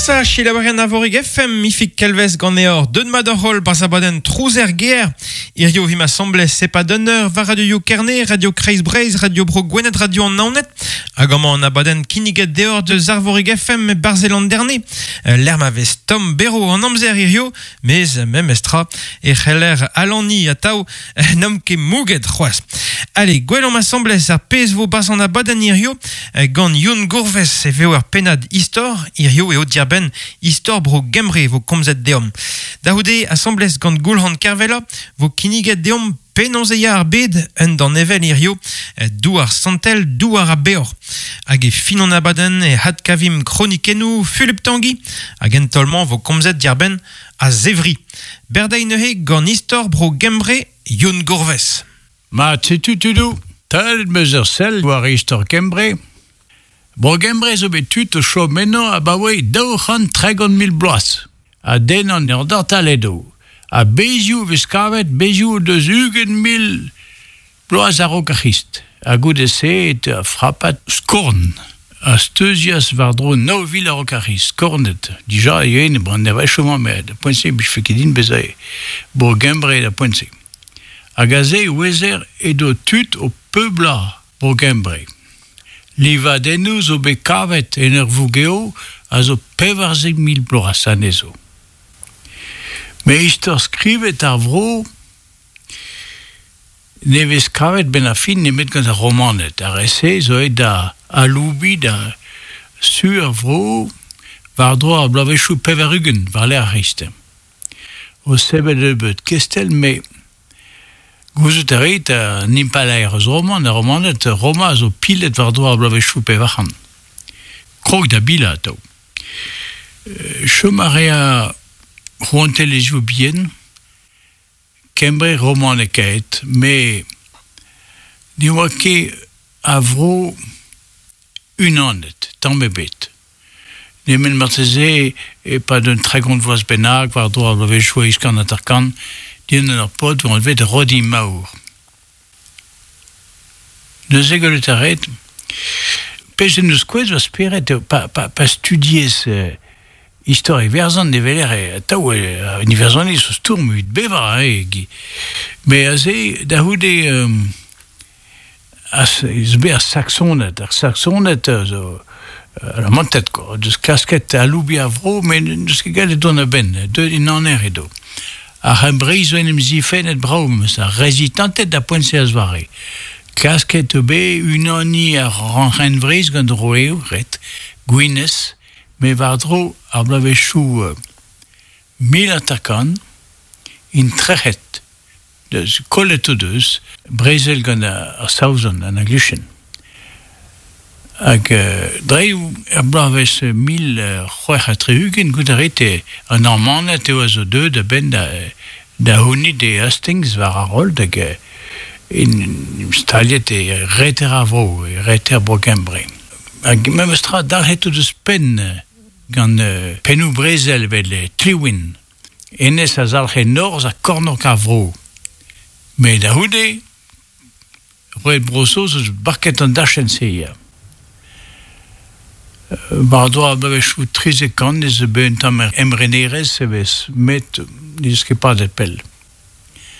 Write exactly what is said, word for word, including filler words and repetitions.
Asa, selaouerien Arvorig F M, Ifig Kelvez ganeoc'h, deut mat hoc'h holl barzh abadenn Trouzer Ger. Hirio vimp asambles e-pad un eur war Radio Kerne, Radio Kreiz Breizh, Radio Bro Gwened, Radio an Naoned. Hag amañ an abadenn kinniget deoc'h deus Arvorig F M barzh Landerne. Lec'h ma vez tomm berv an amzer hirio, mez memestra e c'heller alani atav n'omp ket mouget c'hoazh. Allez, gwelomp asambles ar pezh vo barzh an abadenn hirio gant Youn Gourves e veo ur pennad istor, hirio eo diarbenn istor bro Gembre vo komzet deomp. Da c'houde asambles gant Goulc'han Kervella vo kinniget deomp penaos e ya ar bed un danevell hirio douar santel, douar a beoc'h. Hag e fin an abadenn e hadkavimp kronikennoù Fulup Tanguy hag en taol-mañ vo komzet diarbenn a zevri. Berdañ neuze gant istor bro Gembre Youn Gourves. Ma setu tudoù, talet meus ur sell war istor Kembre. Bro Gembre zo bet tud o chom eno abaoe daou c'hant tregont mil bloaz. Ha den an Neandertaledoù. Ha bezioù vez kavet, bezioù deus ugent mil bloaz a-raok ar C'hrist. Ha goude-se e teu frapat skorn. A steuzias war-dro nav vil a-raok ar C'hrist, skornet. Dija e eo bran ne va chom met da poent-se bije ket din bezañ Bro Gembre da poent-se. Hag aze e ouezer edo tud o peublañ Bro Gembre. Livadennoù zo bet kavet en ur vougeo a zo pevarzek mil bloaz anezho. Me istor skrivet ar vro ne vez kavet ben ar fin nemet gant ar Romaned. Ar re-se zo aet da aloubiñ da su ar vro war-dro ar bloavezhioù pevar-ugent war-lerc'h ar C'hrist. O sevel nebeut kestell, me gouzout a rit an impalaer eus Roman, ar Romaned, Roma zo pilet war-dro ar bloavezhioù pevar-c'hant. Krog da bilañ atav. Chom a rea rouantelezhioù bihan, Kembre romanekaet, me ne oa ket a vro unanet, tamm ebet. Nemet marteze e-pad un tregont vloaz bennak war-dro ar bloavezhioù eizh kant hanter-kant, dindan ur paotr oa anvet Rhodri Mawr. Neuze gwelet a ret, pezh en deus kouezhet va spered eo pa, pa, pa studiez euh, istor Iwerzhon ne weler atav an Iwerzhoniz o stourm evit bevañ, hein, gi. Me aze da c'houde euh, as, ez bet ar Saksoned, ar Saksoned zo alamanted quoi, deus klasket aloubiñ ar vro, met n'eus ket gallet dont a-benn, deuet en aner edo. Ar C'hembreiz zo en em zifennet brav, meus ar rezistanted da poent-se a zoare. Klasket eo bet unaniñ ar C'hembreiz gant roeoù, ret, Gwynedd, me war-dro ar bloavezhioù mil hanter-kant, int trec'het, deus kollet o deus, brezel gant ar Saozon, an Anglichen. Hag dre er bloavezh mil c'hwec'h ha tri-ugent goude a ret an Normaned eo a zo deuet a-benn da, da c'hounit e Hastings war ar roll hag in staliet e reter ar vro, e reter bro Gembre. Hag memes tra dalc'het o deus penn gant pennoù brezel evel Llywelyn. Hennezh a zalc'he norzh ha kornôg ar vro. Met da c'houde, roet Bro-Saoz eus barket an dachenn-se ya. War-dro ar bloavezhioù trizek kant ez eus bet un tamm emrenerezh e vez, met n'eus ket padet pell.